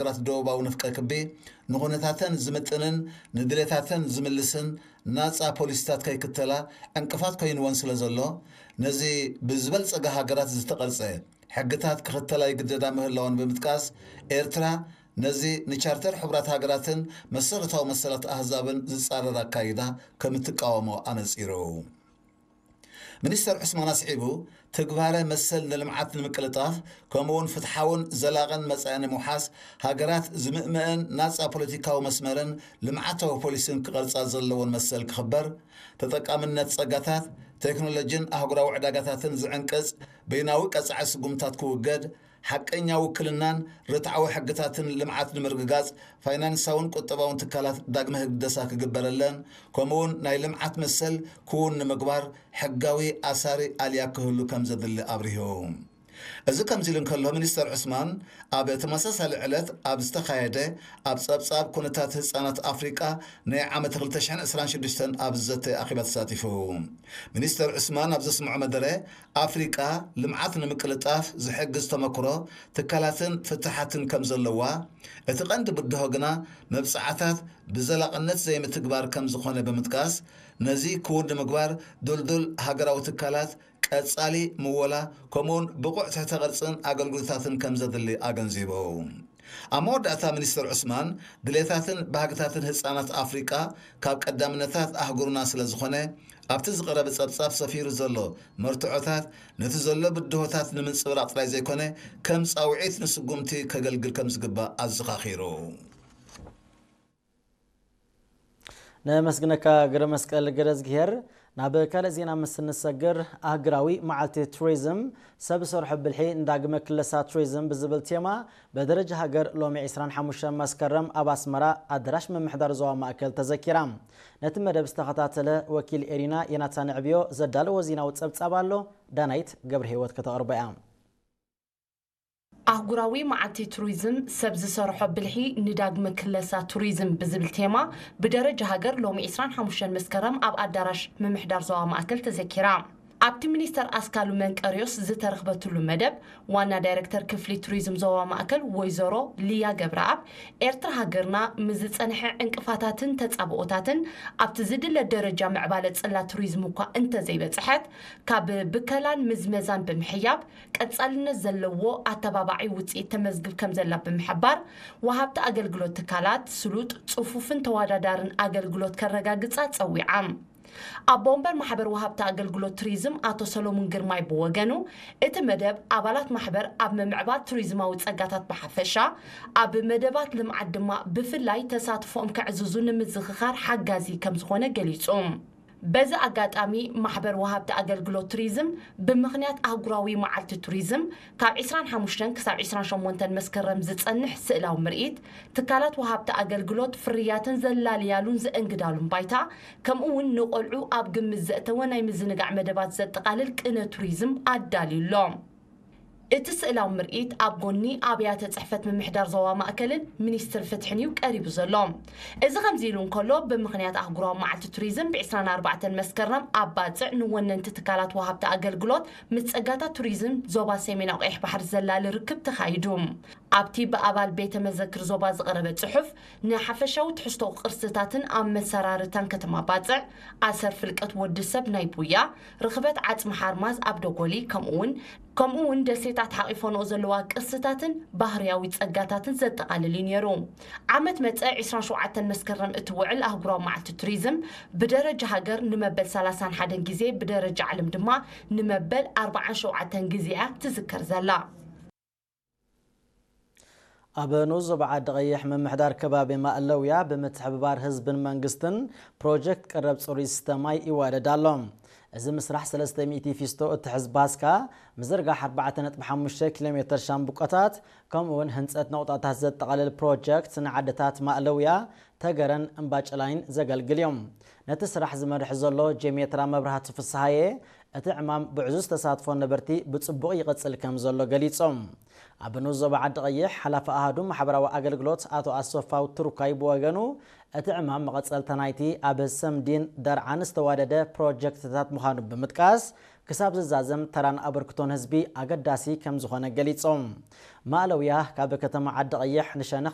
ሃገራት ደቡባዊ ንፍቀ ክቢ ንኹነታተን ዝምጥንን ንድሌታተን ዝምልስን ናጻ ፖሊሲታት ከይክተላ ዕንቅፋት ኮይንወን ስለ ዘሎ፣ ነዚ ብዝበልጸጋ ሃገራት ዝተቐርጸ ሕግታት ክኽተላ ይግደዳ ምህላወን ብምጥቃስ፣ ኤርትራ ነዚ ንቻርተር ሕቡራት ሃገራትን መሰረታዊ መሰላት ኣህዛብን ዝጻረር ኣካይዳ ከም እትቃወሞ ኣነጺሩ። ሚኒስተር ዑስማን ኣስዒቡ፣ ትግባረ መሰል ንልምዓት ንምቅልጣፍ፣ ከምኡውን ፍትሓውን ዘላቕን መጻኢ ንምውሓስ፣ ሃገራት ዝምእመአን ናጻ ፖለቲካዊ መስመርን ልምዓታዊ ፖሊሲን ክቐርጻ ዘለወን መሰል ክኽበር፣ ተጠቃምነት ጸጋታት፣ ቴክኖሎጂን ኣህጉራዊ ዕዳጋታትን ዝዕንቅጽ በይናዊ ቀጻዒ ስጉምታት ክውገድ፣ ሓቀኛ ውክልናን ርትዓዊ ሕግታትን ልምዓት ንምርግጋጽ፣ ፋይናንሳውን ቁጠባውን ትካላት ዳግመ ህግደሳ ክግበረለን፣ ከምኡውን ናይ ልምዓት መሰል ክውን ንምግባር ሕጋዊ ኣሳሪ ኣልያ ክህሉ ከም ዘድሊ ኣብሪሁ። እዚ ከምዚ ኢሉ እንከሎ፣ ሚኒስተር ዑስማን ኣብ ተመሳሳሊ ዕለት ኣብ ዝተኻየደ ኣብ ጸብጻብ ኩነታት ህጻናት ኣፍሪቃ ናይ ዓመት ክልተ ሽሕን ዕስራን ሽዱሽተን ኣብ ዝዘተ ኣኼባ ተሳቲፉ። ሚኒስተር ዑስማን ኣብ ዘስምዖ መደረ፣ ኣፍሪቃ ልምዓት ንምቅልጣፍ ዝሕግዝ ተመክሮ ትካላትን ፍትሓትን ከም ዘለዋ፣ እቲ ቀንዲ ብድሆ ግና መብጽዓታት ብዘላቕነት ዘይምትግባር ከም ዝኾነ ብምጥቃስ፣ ነዚ ክውን ንምግባር ድልዱል ሃገራዊ ትካላት፣ ቀጻሊ ምወላ፣ ከምኡውን ብቑዕ ትሕተ ቅርጽን ኣገልግሎታትን ከም ዘድሊ ኣገንዚቡ። ኣብ መወዳእታ፣ ሚኒስተር ዑስማን፣ ድሌታትን ባህግታትን ህጻናት ኣፍሪቃ ካብ ቀዳምነታት ኣህጉርና ስለ ዝኾነ፣ ኣብቲ ዝቐረበ ጸብጻብ ሰፊሩ ዘሎ መርትዖታት ነቲ ዘሎ ብድሆታት ንምንጽብራቕ ጥራይ ዘይኮነ፣ ከም ጻውዒት ንስጉምቲ ከገልግል ከም ዝግባእ ኣዘኻኺሩ። ነመስግነካ ግረ መስቀል ገረዝግሄር። ናብ ካልእ ዜና ምስ እንሰግር፣ ኣህግራዊ መዓልቲ ቱሪዝም ሰብ ዝሰርሖ ብልሒ ንዳግመ ክለሳ ቱሪዝም ብዝብል ቴማ ብደረጃ ሃገር ሎሚ ዕስራን ሓሙሽተን መስከረም ኣብ ኣስመራ ኣዳራሽ ምምሕዳር ዞባ ማእከል ተዘኪራ። ነቲ መደብ ዝተኸታተለ ወኪል ኤሪና ዮናታን ዕብዮ ዘዳለዎ ዜናዊ ጸብጻብ ኣሎ። ዳናይት ገብረ ህይወት ከተቕርቦ እያ። ኣህጉራዊ መዓልቲ ቱሪዝም ሰብ ዝሰርሖ ብልሒ ንዳግመ ክለሳ ቱሪዝም ብዝብል ቴማ ብደረጃ ሃገር ሎሚ ዕስራን ሓሙሽተን መስከረም ኣብ ኣዳራሽ ምምሕዳር ዞባ ማእከል ተዘኪራ። ኣብቲ ሚኒስተር ኣስካሉ መንቀርዮስ ዝተረኽበትሉ መደብ ዋና ዳይረክተር ክፍሊ ቱሪዝም ዞባ ማእከል ወይዘሮ ሊያ ገብረኣብ፣ ኤርትራ ሃገርና ምስ ዝጸንሐ ዕንቅፋታትን ተጻብኦታትን ኣብቲ ዝድለ ደረጃ ምዕባለ ጽላት ቱሪዝም እኳ እንተዘይበጽሐት፣ ካብ ብከላን ምዝመዛን ብምሕያብ ቀጻልነት ዘለዎ ኣተባባዒ ውጽኢት ተመዝግብ ከም ዘላ ብምሕባር፣ ወሃብቲ ኣገልግሎት ትካላት ስሉጥ፣ ጽፉፍን ተወዳዳርን ኣገልግሎት ከረጋግጻ ጸዊዓ። ኣቦ ወንበር ማሕበር ወሃብቲ ኣገልግሎት ቱሪዝም ኣቶ ሰሎሙን ግርማይ ብወገኑ፣ እቲ መደብ ኣባላት ማሕበር ኣብ ምምዕባል ቱሪዝማዊ ጸጋታት ብሓፈሻ፣ ኣብ መደባት ልምዓት ድማ ብፍላይ ተሳትፎኦም ከዕዝዙ ንምዝኽኻር ሓጋዚ ከም ዝኾነ ገሊጹ። በዚ ኣጋጣሚ፣ ማሕበር ወሃብቲ ኣገልግሎት ቱሪዝም ብምኽንያት ኣህጉራዊ መዓልቲ ቱሪዝም ካብ ዕስራን ሓሙሽተን ክሳብ ዕስራን ሸሞንተን መስከረም ዝጸንሕ ስእላዊ ምርኢት፣ ትካላት ወሃብቲ ኣገልግሎት ፍርያተን ዘላልያሉን ዘእንግዳሉን ባይታ፣ ከምኡ እውን ንቆልዑ ኣብ ግምት ዘእተወ ናይ ምዝንጋዕ መደባት ዘጠቓልል ቅነ ቱሪዝም ኣዳልዩ ኣሎ። እቲ ስእላዊ ምርኢት ኣብ ጎኒ ኣብያተ ጽሕፈት ምምሕዳር ዞባ ማእከልን ሚኒስትሪ ፍትሕን እዩ ቀሪቡ ዘሎ። እዚ ከምዚ ኢሉ እንከሎ፣ ብምኽንያት ኣህጉራዊ መዓልቲ ቱሪዝም ብ ዕስራን ኣርባዕተን መስከረም ኣብ ባጽዕ ንወነንቲ ትካላት ወሃብቲ ኣገልግሎት ምስ ጸጋታት ቱሪዝም ዞባ ሰሜናዊ ቀይሕ ባሕሪ ዘላሊ ርክብ ተኻይዱ። ኣብቲ ብኣባል ቤተ መዘክር ዞባ ዝቐረበ ጽሑፍ፣ ንሓፈሻዊ ትሕዝቶ ቅርስታትን ኣመሰራርታን ከተማ ባጽዕ፣ ኣሰር ፍልቀት ወዲ ሰብ ናይ ቡያ፣ ርኽበት ዓጽሚ ሓርማዝ ኣብ ደጎሊ፣ ከምኡውን ከምኡ እውን ደሴታት ሓቒፈንኦ ዘለዋ ቅርስታትን ባህርያዊ ጸጋታትን ዘጠቓልል እዩ ነይሩ። ዓመት መጸ ዕስራን ሸውዓተን መስከረም እትውዕል ኣህጉራዊ መዓልቲ ቱሪዝም ብደረጃ ሃገር ንመበል ሰላሳን ሓደን ግዜ፣ ብደረጃ ዓለም ድማ ንመበል ኣርባዓን ሸውዓተን ግዜ እያ ትዝከር ዘላ። ኣብ ንኡስ ዞባ ዓዲ ቀይሕ ምምሕዳር ከባቢ ማእለውያ ብምትሕብባር ህዝብን መንግስትን ፕሮጀክት ቀረብ ጽሩይ ዝስተ ማይ ይዋደድ ኣሎ። እዚ ምስራሕ ሰለስተ ሚእቲ ፊስቶ እትሕዝ ባስካ፣ ምዝርጋሕ ኣርባዕተ ነጥቢ ሓሙሽተ ኪሎ ሜተር ሻምብቆታት፣ ከምኡ እውን ህንጸት ነቑጣታት ዘጠቓልል ፕሮጀክት ንዓድታት ማእለውያ፣ ተገረን እምባጭላይን ዘገልግል እዩ። ነቲ ስራሕ ዝመርሕ ዘሎ ጄሜትራ መብራህቱ ፍስሃየ፣ እቲ ዕማም ብዕዙዝ ተሳትፎ ነበርቲ ብጽቡቕ ይቕጽል ከም ዘሎ ገሊጾም። ኣብ ንኡስ ዞባ ዓዲ ቀይሕ ሓላፊ ኣሃዱ ማሕበራዊ ኣገልግሎት ኣቶ ኣሰፋው ትሩካይ ብወገኑ፣ እቲ ዕማም መቐጸልታ ናይቲ ኣብ ሰምዲን ደርዓን ዝተዋደደ ፕሮጀክትታት ምዃኑ ብምጥቃስ፣ ክሳብ ዝዛዘም ተራን ኣበርክቶን ህዝቢ ኣገዳሲ ከም ዝኾነ ገሊጾም። ማእለውያ ካብ ከተማ ዓዲ ቀይሕ ንሸነኽ